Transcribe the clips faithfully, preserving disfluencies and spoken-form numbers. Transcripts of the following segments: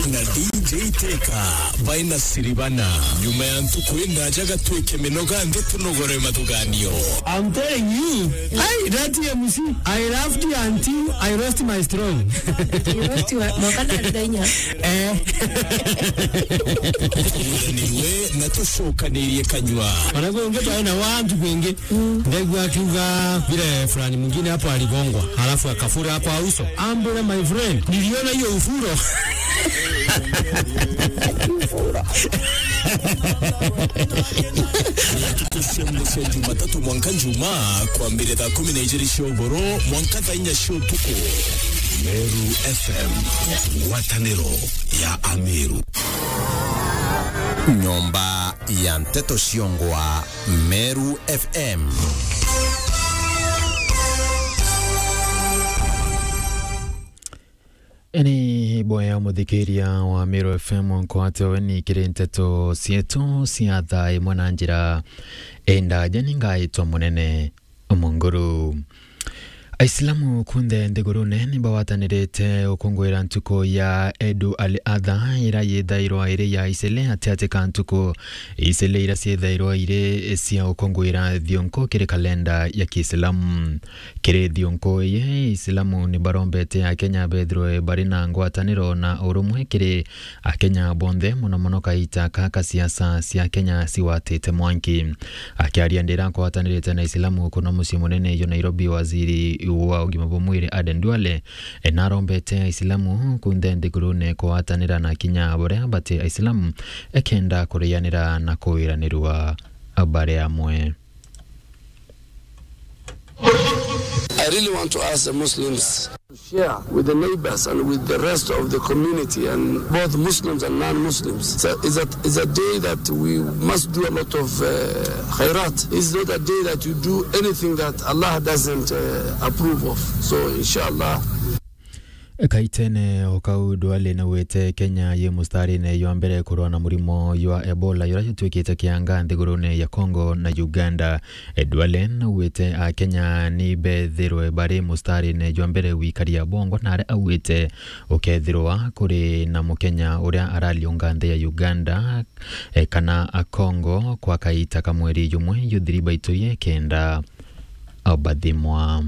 Na D J Teka, baina Siribana. Nyuma ya ntuku indaja gatwike minoga nthi tunogore mathuganio. I'm telling you, hey, that M C, I laughed until I lost my strong. You lost your, mwaka na thenya. Eh. Tuguranirwe na tucokanirie kanyua. Ona kwengi twaina wantu kwengi. Ndegwa akiuga vile fulani mwingine hapo aligongwa, halafu akafura kwa uso. Ambule, my friend, niliona hiyo ufuro. Tukushembe cia Jumatatu mwanka Juma, kwambire thaa kumi na ijiri cia ugoro, mwanka thaa inya cia utuku. Meru F M, ngwataniro ya Ameru. Nyomba ya nteto ciongwa. Meru F M. Ni boya muthikiria wa Meru F M nkwate weni kiri nteto cietu cia thaa imwe na njira indaja ni ngaitwa munene Munguru. Aislamu kunthe nthigurune ni bawatanirite ukunguira ntuku ya Edu al Adha, ira yithairwa iri ya isele atiati ka ntuku isele ira ciithairwa iri cia ukunguira thiunku kiri kalenda ya Kiislamu. Kiri thiunku iyi, Islamu ni barombete Akenya bethirwe bari na ngwataniro na urumwe kiri Akenya bonthe, mono mono kaita ka ka siasa cia Kenya ciwatite mwanki. Akiaria ndira kwatanirite na Islamu kuno mucii munene jwa Nairobi, waziri wa ugima bwa mwiri Aden Duale, e, narombete Islamu kunthe nthigurune kwatanira na kinya baria bati Islamu, ekenda kurianira na kuwiranirwa bari amwe. I really want to ask the Muslims to share with the neighbors and with the rest of the community and both Muslims and non-Muslims. So it's a, it's a day that we must do a lot of, uh, khairat. It's not a day that you do anything that Allah doesn't, uh, approve of. So, inshallah. Kaitene o kau, Duale naugite Kenya yi mustarine jwa mbere kurwa na murimo jwa Ebola, juria jutwikite kianga nthigurune ya Congo na Uganda. Duale naugite Akenya ni bethirwe bari mustarine jwa mbere gwikaria bwongo, na aria augite ukethirwa kuri na Mukenya uria arariunga nthi ya Uganda, e, kana Akongo kwa kaita ka mweri jumwe, juthiri baituri kenda bathimwa.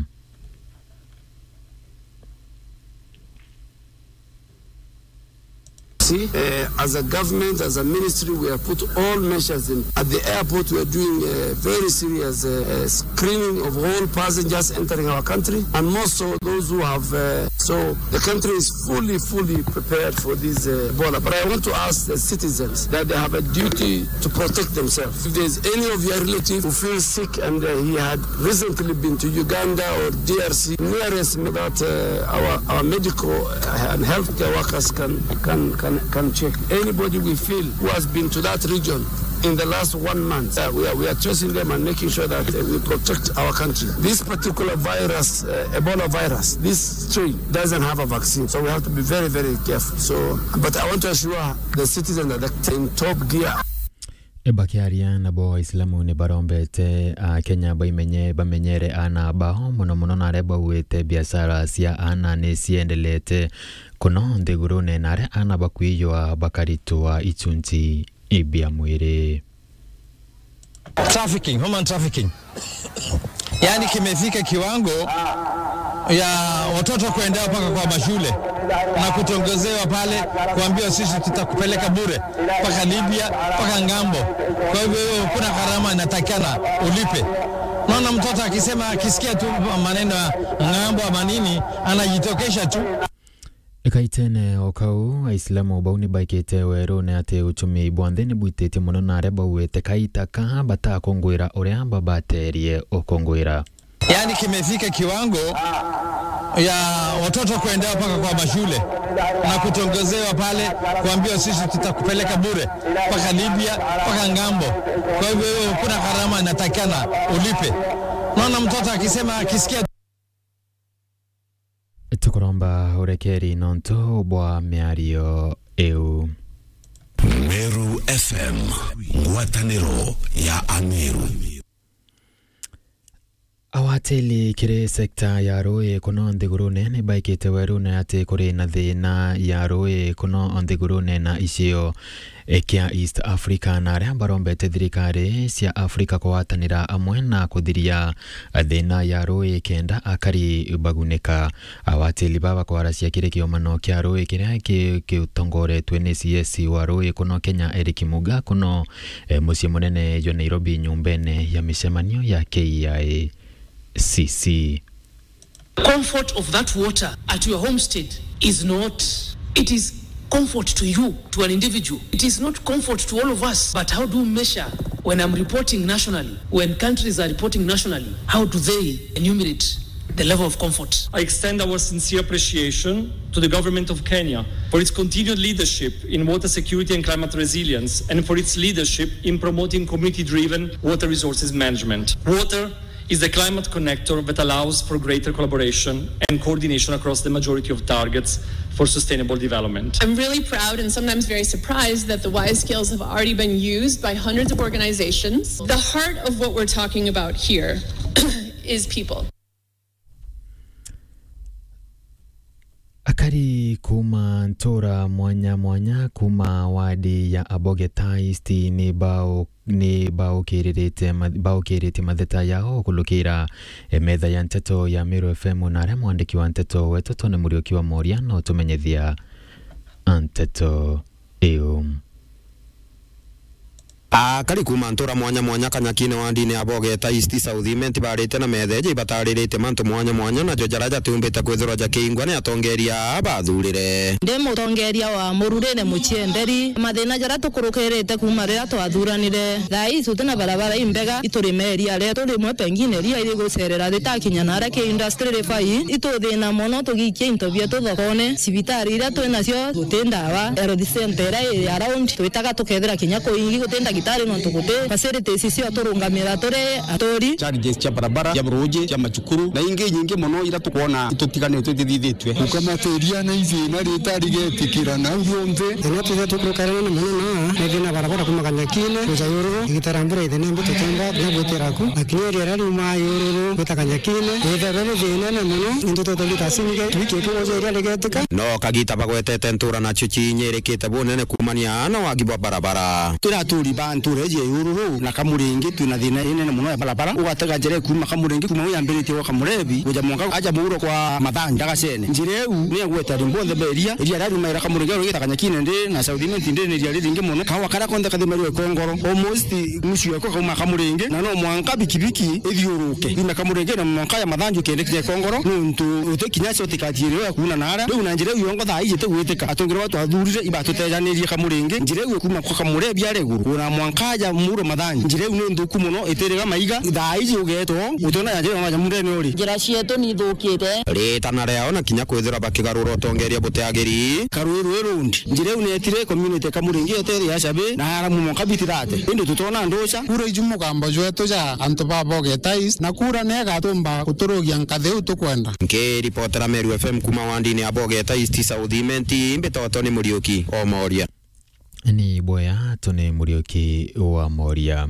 See, uh, as a government, as a ministry, we have put all measures in. At the airport, we are doing a very serious, uh, uh, screening of all passengers entering our country, and more so those who have, uh, so the country is fully, fully prepared for this, uh, Ebola. But I want to ask the citizens that they have a duty to protect themselves. If there's any of your relative who feels sick and, uh, he had recently been to Uganda or D R C, nearest me that, uh, our, our medical, uh, and healthcare workers can, can, can, can check. Anybody we feel who has been to that region in the last one month, uh, we are, we are tracing them and making sure that, uh, we protect our country. This particular virus, uh, Ebola virus, this strain doesn't have a vaccine, so we have to be very, very careful. So, but I want to assure the citizen that they're in top gear. Bakiaria nabo, Aislamu ni barombete Akenya baimenye, bamenyere ana bao, mono mono na aria bauite biashara cia ana ni ciendelete kuno nthigurune, na aria ana bakwijwa bakaritwa ichunchi bia mwiri. Trafficking, human trafficking. Yaani kimefika kiwango ya watoto kuendewa mpaka kwa mashule na kutongozewa pale, kuambiwa, "Sisi tutakupeleka bure mpaka Libya, mpaka ng'ambo." Kwa hivyo, hiyo kuna gharama inatakikana ulipe. Naona mtoto akisema, akisikia tu maneno ya ng'ambo ama nini, anajitokesha tu. Kaitene o kau, Aislamu bau ni baikite werune ati uchumi bwa nthi ni bwititie mono, na aria bauite kaita ka batakungwira uria babaterie ukungwira. Yaani kimefika kiwango ya watoto kuendewa mpaka kwa mashule na kutongozewa pale, kuambiwa, "Sisi tutakupeleka bure mpaka Libya, mpaka ng'ambo." Kwa hivyo, hiyo kuna gharama inatakikana ulipe. Naona mtoto akisema, akisikia Tukuromba urekeri nontu bwa miario iu. Meru F M, ngwataniro ya Ameru. Awatili kiri sekta ya ruui kuno nthigurune ni baikite werune ati kuri na thina ya ruui kuno nthigurune na icio kia East Africa, na aria barombete thirikari cia Africa kugwatanira amwe na kuthiria thina ya ruui kenda akari bagunika. Awatili baba kwaracia kiri kiumano kia ruui kiria ki-, kitongoretwe ni C S wa ruui kuno Kenya, Eric Muga, kuno, eh, mucii munene jwa Nairobi, nyumbene ya micemanio ya K I C C. Comfort of that water at your homestead is not, it is comfort to you, to an individual. It is not comfort to all of us, but how do you measure when I'm reporting nationally, when countries are reporting nationally, how do they enumerate the level of comfort? I extend our sincere appreciation to the government of Kenya for its continued leadership in water security and climate resilience, and for its leadership in promoting community-driven water resources management. Water is the climate connector that allows for greater collaboration and coordination across the majority of targets for sustainable development. I'm really proud and sometimes very surprised that the WISE skills have already been used by hundreds of organizations. The heart of what we're talking about here is people. Akari kuuma ntura mwanya mwanya kuuma wadi ya Abogeta East ni bao-, ni baukirite ma-, baukiritie matheta yao kulukira, eh, metha ya nteto ya Meru F M, na aria mwandiki wa nteto wetu Tony Muriuki wa Moria no tumenyethia nteto iu. Akari kuuma ntura mwanya mwanya Kanyakine wandine ya Bogeta East South Imenti barite na metheja ibatariritie mantu mwanya mwanya, najo jaria jatiumbite kwithirwa jakiingwa ni atongeria aa bathurire. Ndi mutongeria wa Mururine Muchienderi, mathina jaria tukurukirite kuuma riria twathuranire. Thaa ii tuti na barabara imbega, iturimeria ria turimwe pengine ria irigucerera ritakinya na aria ki industry rifai, ituthina mono tugiikia into bietu thokone, cibitari iria twi nacio guti ndawa, health center iria iri around twitaga tukethira kinya kuingi guti ndagitari nontu guti facilities cio turungamira turi aturi. Challenges cia barabara, cia ruuji, cia macukuru, na ingi nyingi mono iria tukwona itutiganitwe itithithitue. Gukamatiria na ithina ritarigetikira nau rionthe. Thina turia tukurukarana na mono na ni thina barabara kuuma Kanyakine kuja Yururu, igitara mbura ithina mbi tutemba na gwitira ku, na kinya iria riria riuma Yururu gwita Kanyakine, Kine, withairwe ni thina ni mono, into twete lita cinge, twiki tugoja iria rigetika. No kagita bagwetete ntura nacio ciinyirikite bunene kuumania na wagi bwa barabara. Turi aturi ba ntura iji ya Yururu na Kamuringi, twina thina inene mono ya barabara. Ugatega njira ikuuma Kamuringi, kuuma u yambiritie gwa Kamurebi, guja mwanka aja muuro kwa Mathani, Ndagacene. Njira iu ni igwete antu bonthe ba iria, iria riria riumagira Kamuringi rigita Kanyakine ndi na South Imenti ndi ni iria riringi mono. Kaua karia konthe kathimairwe ikongoro. Almost nusu yako kauma Kamuringi, na no mwanka bikibiki ithiuruke yume Kamuringi na mwanka ya Mathanju kende kinya Ikongoro, nuntu uti kinya cio tikatiirio ya kuuna naara. Riu na njira iu yongo thaa iji itigwitika. Atongeria baa twathurire ibatutejanirie Kamuringi, njira iu kuuma kwa Kamurebi aria iguru, una mwanka aja Muro Mathanju. Njira iu ni nthuku mono, itiriga maiga. Thaa iji ugeetwo, utiona ya njira ya Nyamundene uri. Njira cietu ni ithukite. Ritana riao na kinya kwithirwa bakigarura utongeria butiagiri. Karui rui rundi. Njira iu neetire community Kamuringi yote ya Shabe na Haramu mwanka biti thate. Indi tutona nduca. Kura iju mugambo jwetu ja antu ba Bogeta East, na kura ni igatumba guturugia nkathi iu tukwenda. Nkiripotera Meru F M kuuma wandini ya Bogeta East South Imenti, mbitagwa Tony Muriuki o Moria. Ni bwega, Tony Muriuki wa Moria.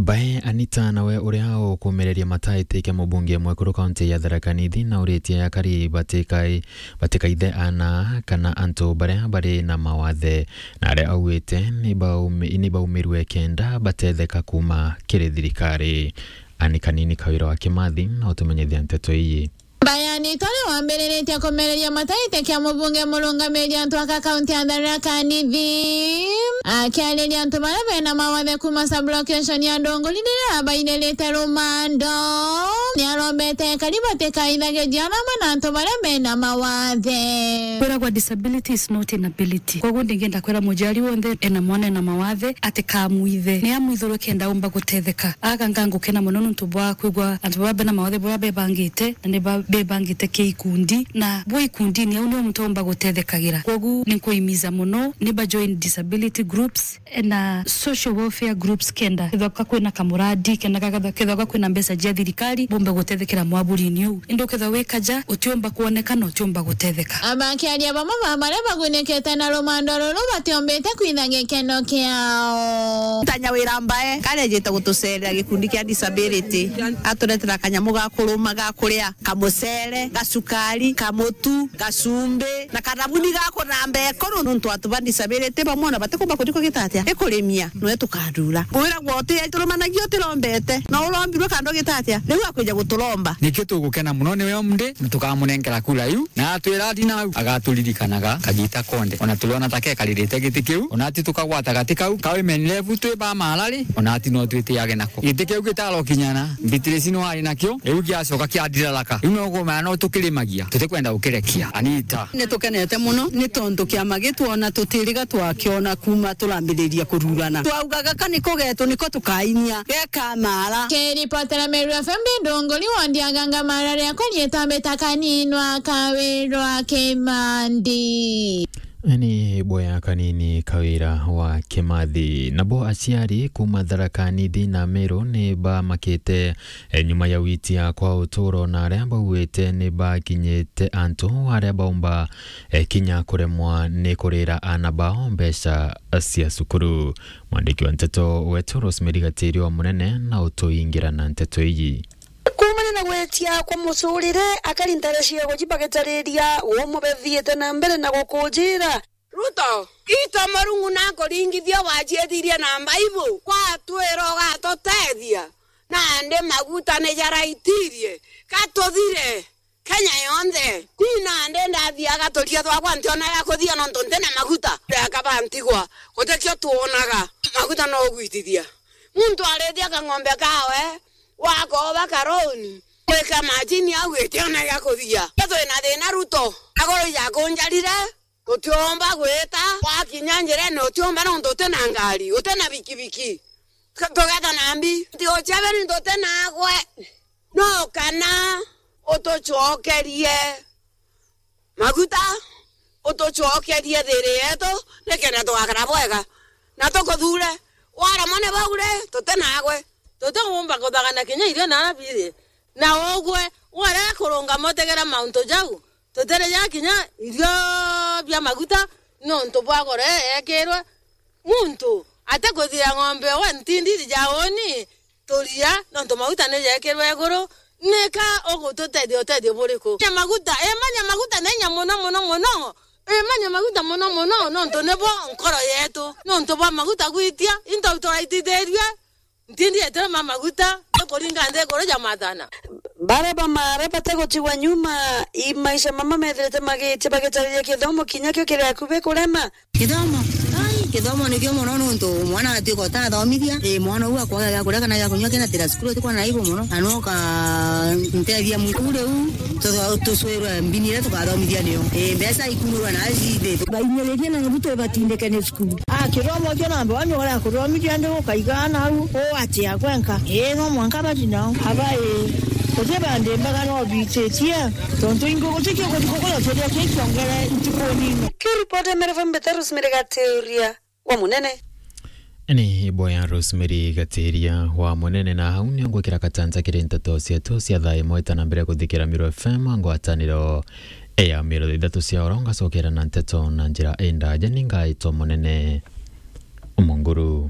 Bae Anita nawe uria ukumereria mataitike mubunge mwekuru kaunti ya Tharaka Nithi na uritie akari batikai-, batikaithe ana kana antu baria bari na mawathe, na aria augite ni baumi-, ni baumirwe kenda batetheka kuuma kiri thirikari. Ani Kanini Kawira wa Kimathi na utumenyithia nteto ii. Bayani tore wambiriritie kumereria mataite kia mubunge murungamiri antu aka kaunti ya Tharaka Nithi. Akiariria antu baria bena mawathe kuuma sub-location ya Ndunguri riria abairerete rumando, niarombete akari batikaithagiria arama na antu baria bena mawathe. Kwiragwa disability is not inability. Koguo ndingenda kwira muciari wonthe ena mwana ena mawathe atikamwithe. Ni amwithurwe kenda umba gutetheka. Aga ngangukena mono nuntu bwa kwigua antu baba bena mawathe baba bebangite na ni ba-, bebangite ki ikundi, na bwi ikundini au nio muntu aumba gutethekagira. Koguo ni nkuimiza mono ni ba join disability group. groups na social welfare groups kenda kethwa ka kwina kamuradi, kenda ka-, kethwa ka kwina mbeca cia thirikari, bumbe gutethekera mwaburini uu. Indi ukethwa wi kaja, utiumba kwoneka na utiumba gutetheka. Abakiaria bamwe ba baria bagunikite na rumando ruru batiombite kwitha gikeno kiao. Tanya Wira Mbae, karia ejite gutucerera gikundi kia disability, aturetera kanyamu ga kuruma ga kuria, kamucere, gacukari, kamutu, gacumbi, na kathabuni ga kuthamba ikuru, nontu antu ba disability bamwe ona batikumba kuthi kugita atia, ikurimia, nwe tukathura. Wiragwa uti-, turumanagia utirombete, na urombirwe kando gita atia, riu akwija guturomba. Nikio tugukena muno niwe omde, na tukamunenkera kura iu, na atwira athi nau, agaturirikanaga kagita konthe. Ona turiona ta kekaririte giti kiu, ona ati tukagwata gati kau, ka women rep twi ba marari, ona ati no twitiage nako. Giti kiu gitarokinyana, Beatrice no ari nakio, riu giacoka kiathiraraka. Riu no kumenya no tukirimagia, tutikwenda gukirekia. Anita. Ni tukenete muno, ni tontu kiama gitwona tutiriga twakiona kuma turambiriria kururana. Twauga gaka niko getu, niko tukainia, geka mara. Kiripotera Meru F M ndunguri wa Ndiaganga mara riakwa rietwa Mbita Kaninwa Kawirwa Kimandi. Ni boya kanini Kawira wa Kimathi. Nabo aciari kuma Tharaka Nithi na Meru ni bamakite, e, nyuma ya witia kwa uturo, na aria bauite ni bakinyite antu aria baumba, e, kinya kuremwa ni kurira ana bao mbeca cia cukuru. Mwandiki wa nteto wetu Rosemary Gatirio wa Munene na utuingira na nteto iji. Kuumania na gwitia kwa mucurire, akari ntare cia Goji bagitariria umwe bethiite na mbere na gukujira. Ruto, itu Murungu nakuringithia waciithirie na Mbaibu, gwatwira ugatutethia, nandi maguta ni jaraitirie, gatuthire Kenya yonthe. Ni nandi ndathiaga turia twakwa ntiona gia kuthia nontu ntina maguta. Ndakaba ntigwa, gutikio twonaga, maguta no ugwitithia. Muntu arithia kang'ombe kawe, wakoba karoni, gwika majini au itiona gia kuthia. Twina thina Ruto, agoro ijakunjarire, tutiumba gwita, wakinya njirene utiumba nontu utina ngari, utina bikibiki. Ka-, tugeta na mbi, nti uceberi ntutina agwe. No kana utucokerie maguta, utucokerie thiri yetu, nikenda tugakara bwega, na tukuthure. Waremwa ni bau ri, tutinagwe. Tutiumba kuthagana kinya irio na biri. Na ugwe, warega kurungama utegera mauntu jau, tutire ja kinya irio bia maguta, nontu bwa goro yekirwe. Muntu atikuthira ng'ombe we ntindiri ja uni, turia, nontu maguta ni jekirwe iguru, nika ugututethia utethio buriku? Nya maguta, imanya maguta ni inya mono, mono, mono. Imanya maguta mono, mono, nontu nibo nkoro yetu. Nontu bwa maguta gwitia, into turaitithirie, ntindi yetu ma maguta, tukuringa nthi iguru ja mathana. Baria bamara batigutigwa nyuma, i maisha mama methirite magitia bagitariria kithomo kinya kio kiri akubi kurema. Kithomo? Ai, kithomo nikio mono nontu mwana atuika utathomithia. Ii, mwana uu akwaga gia kuria kana gia kunyua kina tira cukuru, tukwona aibu mono. Na no ka ntethia muntu riu tutho-, tucwirwe mbini iria tukathomithia nio. Ii, mbeca ikunurwa na acithi. Bainyiririe na Ruto ibatindike ni cukuru. Ah, kithomo kio namba one uria kuthomithia ndi ukaiga nau, uu atia gwenka. Ii, no mwanka bati nao. Aba ii, guti bandi mbaga no bititie, tontu ingi guti kio guti kukuria kiria kii kiongere ntukuni ino. Kiripoti ya Meru F M Mbita Rosemary Gatiria wa Munene. Ni ibo ya Rosemary Gatiria wa Munene, na hau nio ngwikira katanja kiri nteto cietu cia thaa imwe itana mbere kuthikira Meru F M ngwataniro ya Meru thaa ithatu cia oro, ngacokera na nteto na njira indaja, ni ngaitwa Munene Munguru.